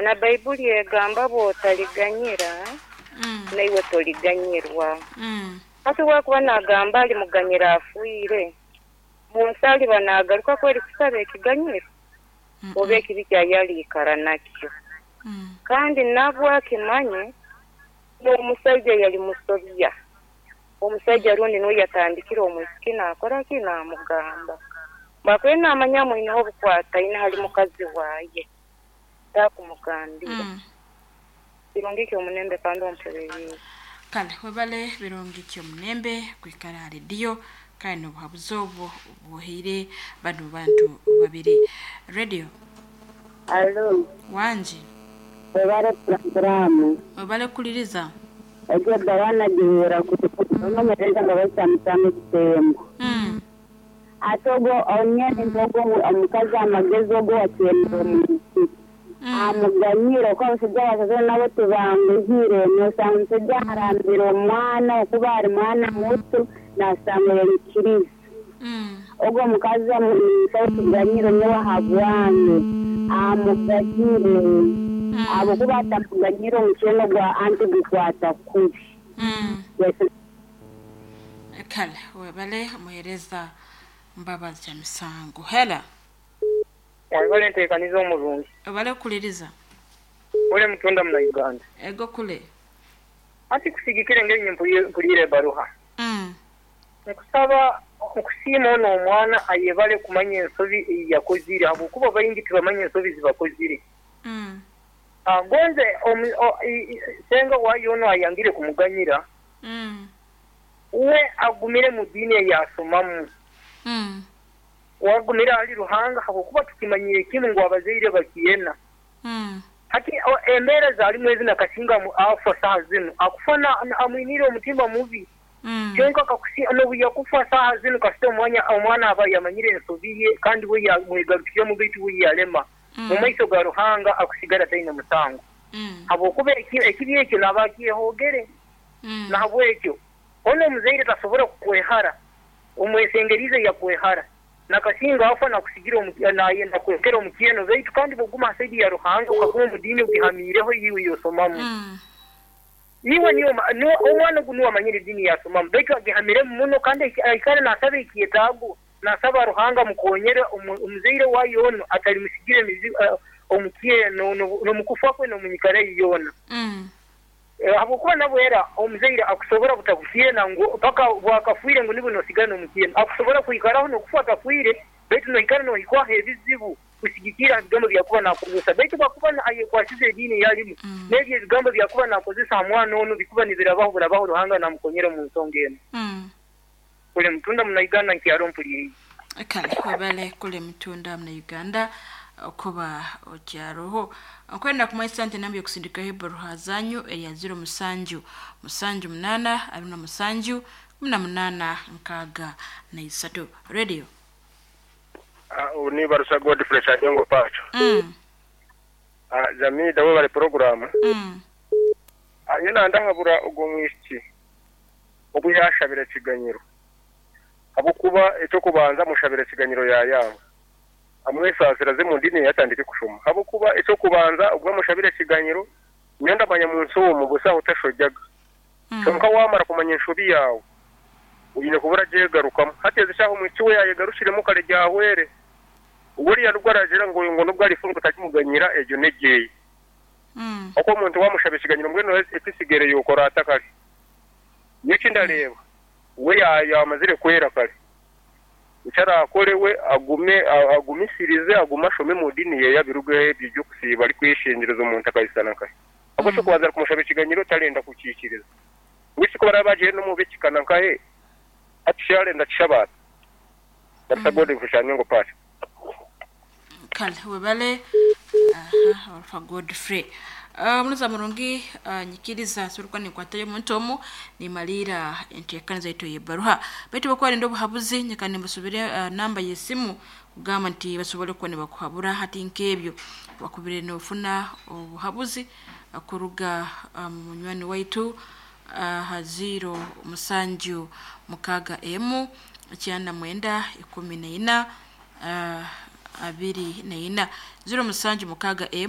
Na Baibuli egamba bw'otaliganyira, naiwe toliganyirwa. Hati obu akuba naagamba alimuganyira afiire, munsi aliba naagaruka kweri kusaba ekiganyiro? Oba ekibi kyaye aliikara nakyo? Kandi nabwo akimanye n'omusaija yali musobya. Omusaija rundi nuwe yatandikire omwisiki naakora ki? Naamugamba. Bwakubaire naamanya amwineho obukwataine hali mukazi waye, taakumugambire. Birungi ki omunembe kandi ompuririize. Kale webale Birungi Kyomunembe kwikara ha rediyo kandi n'obuhabuzi obwo obwohaire banu bantu babiri. Radio. Alo. Wangi. Webale puroguraamu. Webale kukuliriza. Egyo ebbaruha nagihuura kurungi. Onomereza nga baikyamukyama ekitembo. Ate ogwo nyowe nimpa ogwo omukazi amagezi ogwo owakyenire omwisiki. Amuganyire okuba abasaija abasazirwe nabo tibanguhire. Nosanga omusaija arambire omwana okuba ari mwana muto nasanga yaikiriza. Ogwo omukazi ninsaba ekiganyiro nyowe ahabwange amuganyire ahabwokuba atamuganyire omukyeno gwa anti gukwata kubi. Kale webale omuhereza Mbabazi Kyamisango. Hela. Webale entekaniza omurungi. Webale kukuliriza. Kule mutunda muna Uganda. Ego kule. Anti kusigikira engeri nye mpuliire ebaruha. Nkusaba nkusiima ono omwana ayebale kumanya ensobi eyiyakozire habwokuba baingi tibamanya ensobi zibakozire. Gonze senga wayo ono ayangire kumuganyira, uwe agumire mu diini eyasomamu. Wagumire ahali Ruhanga habwokuba tukimanyire kimu ngu abazaire bakyena. Hati embeera zalimu ezi nakasinga afa saha zinu akufa amwiniire omutima mubi. Kyonka nobu yakufa saha zinu kasita omwana aba yamanyire ensobi ye kandi we yamwegarukiremu baitu we yalema. Mu maiso ga Ruhanga akusigara taine musango. Habwokuba ekibi ekyo naba akyehogere. Nahabwekyo ono omuzaire tasobora kukwehara. Omwesengerize yakwehara. Nakasinga afa nakusigira nakwekera omukyeno baitu kandi bwoguma ha saidi ya Ruhanga okaguma omu diini ogihamiireho iwe yosomamu. Iwe niwe omwana ogu niwe amanyire ediini yasomamu baitu agihamiremu muno kandi aikara nasaba ekyetaago nasaba Ruhanga amukonyere omuzaire wayo ono atalimusigira omukyeno n'omukufa kwe n'omunyikara ye yoona. Habwokuba nabwo era omuzaire akusobora butakukyena ngu paka bwakafwire ngu nibwo nosigara n'omukyeno. Akusobora kwikaraho n'okufa atafwire baitu noikara nohikwaho ebizibu kusigikira ha bigambo byakuba nakozesa. Baitu bwakuba ayekwasize ediini eyalimu n'ebyo ebigambo byakuba nakozesa ha mwana onu bikuba nibirabaho burabaho Ruhanga namukonyera omu nsonga enu. Kule mutunda muna Uganda nkyaro mpuliriize. Kale webale kule mutunda muna Uganda okuba okyaroho. Nkwenda kumanyisa nti enamba yokusindikaho ebaruha zanyu eya 07 78 27 18 63. Radio. Ni Barusa Godfrey Sajongo Pacho. Jamida webale program. Nyina ndahabura ogwo mwisiki obu yashabira ekiganyiro. Habwokuba ekyokubanza mushabira ekiganyiro yayanga. Amwesasira ze mu dini yatandike kushoma. Habwokuba ekyokubanza ubwo mushabira ekiganyiro nyenda manya mu nsi omu busa utashojaga. Kyonka wamara kumanya enshobi yawe uyine kubura jegarukamu. Hateze shaho mwiki we yayegarushiremo kare jahwere. Uburiya nubwo arajira ngo nubwo arifunga utakimuganyira ejo negeye. Oko omuntu wamushabe ekiganyiro mbwenu ekisigere yokora atakare. Nyeki ndareba we yamazire kwera kare. Icara akorewe agume agumisirize aguma ashome mu dini ye yabiruge ebyo kusiba ari kwishinjiriza omuntu akayisana kare. Ako cyo kubanza kumushabe ekiganyiro tarenda kukikiriza. Wisi ko barabaje no mu bekikana nkahe atisharenda kishabata. Basagode kushanya ngo pasha. Kale webale Alpha Godfrey. Munuza murungi nyikiriza surukwa nikwatayo omuntu omu nimalira enteekaniza zaitu y'ebbaruha baitu bakwarenda obuhabuzi nyakani mbasubire namba y'esimu kugamba nti basobole kuba nibakuhabura hati nk'ebyo bakubire nofuna obuhabuzi kuruga munywani waitu ha 0 7 6 M 9 14 24 0 7 6 M.